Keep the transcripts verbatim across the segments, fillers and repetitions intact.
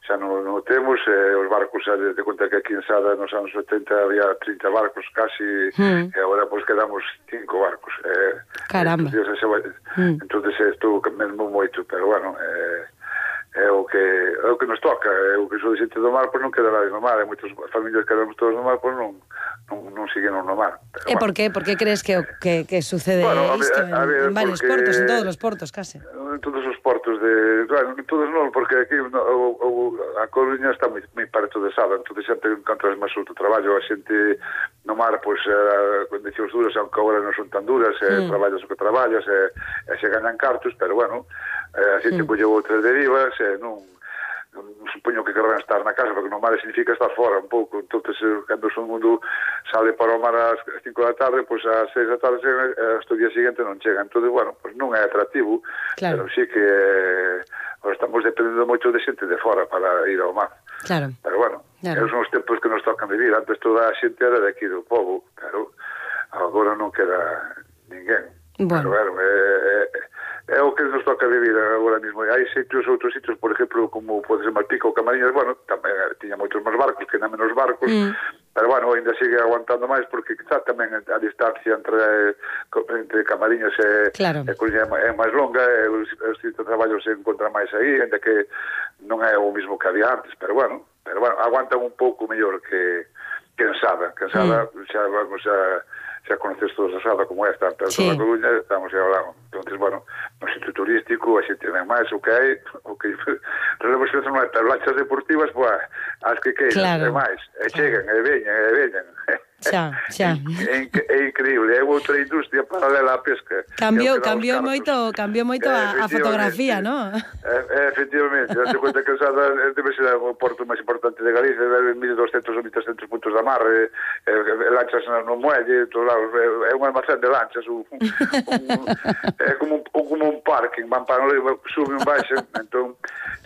xa non, non temos, eh, os barcos, xa de conta que aquí en Sada nos anos oitenta había trinta barcos casi, mm. e agora pois quedamos cinco barcos. Eh, Caramba. Entonces, mm. entonces estou mesmo moito, pero bueno, eh, é o que é o que nos toca, é o que sou de xente do mar, pois non quedará no mar, e moitas familias que quedamos todos no mar, pois non non, non siguen no mar. Pero, e bueno. por qué? Por que crees que, que, que sucede bueno, isto en, a ver, en varios portos, en todos os portos, case? En todos os portos de... Claro, en todos non, porque aquí no, o, o, a Coruña está moi, moi parto de Sada, entón xente encontras máis outro traballo, a xente no mar, pois, eh, condicións duras, aunque agora non son tan duras, eh, mm. traballas o que traballas, e eh, se ganan cartos, pero bueno, eh, a xente mm. colleu outras derivas, e eh, non... supoño que querrán estar na casa, porque no mar significa estar fora un pouco, entonces cando o mundo sale para o mar ás cinco da tarde, pois ás seis da tarde hasta o día seguinte non chega, entonces, bueno, pois non é atractivo, claro. Pero sí que eh, estamos dependendo moito de xente de fora para ir ao mar, claro. Pero bueno, claro. Esos son os tempos que nos tocan vivir, antes toda a xente era de aquí do povo, claro, agora non queda ninguén, bueno. Pero, bueno, é, é, é o que nos toca vivir agora mesmo. Hai sitios, outros sitios, por exemplo, como pode ser Malpica ou Camariñas, bueno, tamén tiña moitos máis barcos, que na menos barcos, mm. pero bueno, ainda sigue aguantando máis, porque quizá tamén a distancia entre, entre Camariñas e, claro. e Coruña é máis longa, e os, os sitios de traballo se encontran máis aí, ainda que non é o mismo que había antes, pero bueno, pero bueno, aguantan un pouco mellor que, que en Sada, que en Sada mm. xa vamos a... xa conoces todos a Sada como esta, pero sí. Toda a Coruña estamos a hablar. Entonces, bueno, no sitio turístico, a xente ven máis, o que hai, o que relevos que non hai, pero lanchas deportivas, pues, as que queiran, claro. E máis, e chegan, e veñan, e veñan. Xa, xa. É, é, é increíble, é outra industria paralela á pesca. Cambiou, cambiou moito, cambiou moito a, a fotografía, ¿no? É, efectivamente, date conta que Sada debe ser o porto máis importante de Galicia, debe mil doscentos ou mil trescentos puntos de amarre, e, e lanchas no muelle, todos lados, é un almacén de lanchas, un, un, é como un, como un parking, van para no suben, baixen, entón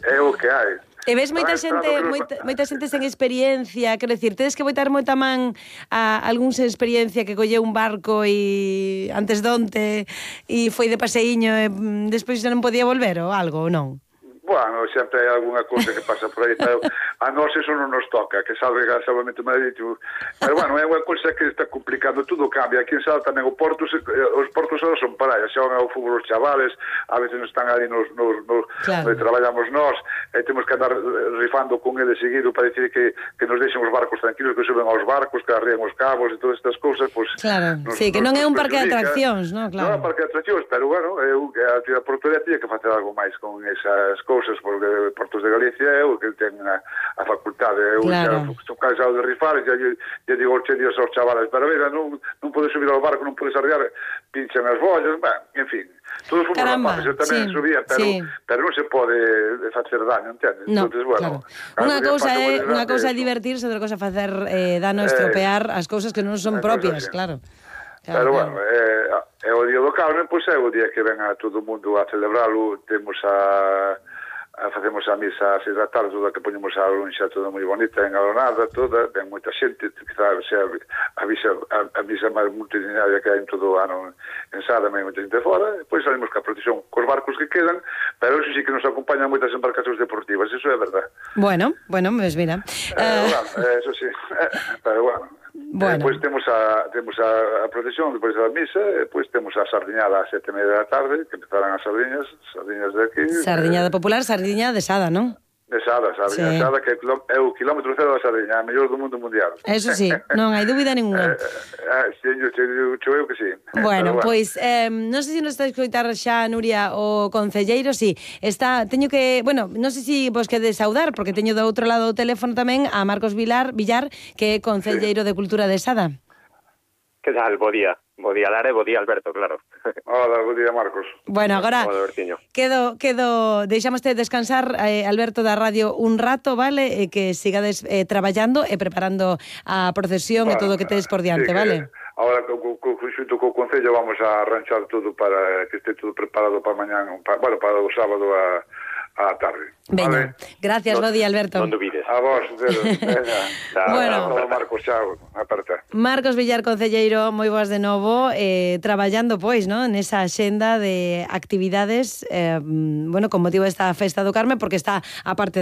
é o que hai. E ves moita xente, moita, moita xente sen experiencia, quero dicir, tedes que botar moita man a algún sen experiencia que colleu un barco e antes donte e foi de paseíño e despois non podía volver ou algo, ou non? Bueno, sempre hai alguna cousa que pasa por aí, pero a nós eso non nos toca, que salve salvamento marítimo. Pero bueno, é unha cousa que está complicando, tudo cambia. Aquí en Sada tamén o porto, os portos ahora son para xa van ao fútbol os chavales, a veces non están ali nos, nos, nos claro. Onde traballamos nós, e temos que andar rifando con ele seguido para decir que, que nos deixen os barcos tranquilos, que suben aos barcos, que arrían os cabos e todas estas cousas, pues, claro, nos, sí, que non é un parque de atraccións, non? Claro. Non é un parque de atraccións, pero bueno, eu, a actividade portuaria tiña que facer algo máis con esas cousas, porque Portos de Galicia é o que ten a, a facultade. Eu claro. Xa estou cansado de rifar, xa lle digo ocho días aos chavales, pero mira, non, non podes subir ao barco, non podes arriar, pinchan as bollas, ben, en fin. Todos fomos rapaces, eu tamén sí, subía, pero, sí. pero non se pode facer daño, entendes? No, entonces, bueno, claro. Unha cousa é unha cousa é divertirse, outra cousa facer eh, dano, estropear eh, as cousas que non son propias, sí. claro. Claro, pero claro. bueno, é, é o día do Carmen, pois é o día que ven a todo o mundo a celebralo, temos a... A, facemos a misa a seis da tarde, toda que poñemos a lunxa toda moi bonita, engalonada, toda, ven moita xente, quizá sea a, misa, a, a misa máis multitudinaria que hai en todo o ano en Sada, ven moita xente fora, e depois salimos ca procesión cos barcos que quedan, pero eso sí que nos acompañan moitas embarcacións deportivas, eso é verdad. Bueno, bueno, pues mira. Eh, uh... bueno, eso sí, pero bueno. Bueno. Depois temos a temos a, a procesión, depois da misa, e depois temos a sardiñada ás sete e media da tarde, que empezarán as sardiñas, sardiñas de aquí. Sardiñada eh, popular, sardiña de Sada, non? De Sada, sardiña sí. de Sada, que é o kilómetro cero da sardiña, a mellor do mundo mundial. Eso sí, non hai dúbida ninguna. Eh, eh, sí, eu, eu, eu que sí. Bueno, pois, bueno. eh, non sei se nos está a escoitar xa, Nuria, o concelleiro, si, está, teño que, bueno, non sei se vos quedes saudar, porque teño do outro lado do teléfono tamén a Marcos Vilar, Villar, que é concelleiro sí. de Cultura de Sada. Que tal? Bo día. Bo día, Lara, e bo día, Alberto, claro. Hola, bo día, Marcos. Bueno, agora quedo, quedo, deixámoste descansar, eh, Alberto, da radio un rato, vale? E que sigades eh, traballando e preparando a procesión bueno, e todo o que tedes por diante, sí, vale? Ahora, xunto co Concello, vamos a arranxar todo para que este todo preparado para mañán, para, bueno, para o sábado a... a tarde. Veña, vale. Gracias, no, bo día, Alberto. Non dubides. A vos, veña. Bueno, a Marcos, chao, aperta. Marcos Villar, concelleiro, moi boas de novo, eh, traballando, pois, ¿no? Nesa axenda de actividades, eh, bueno, con motivo desta Festa do Carme, porque está a parte da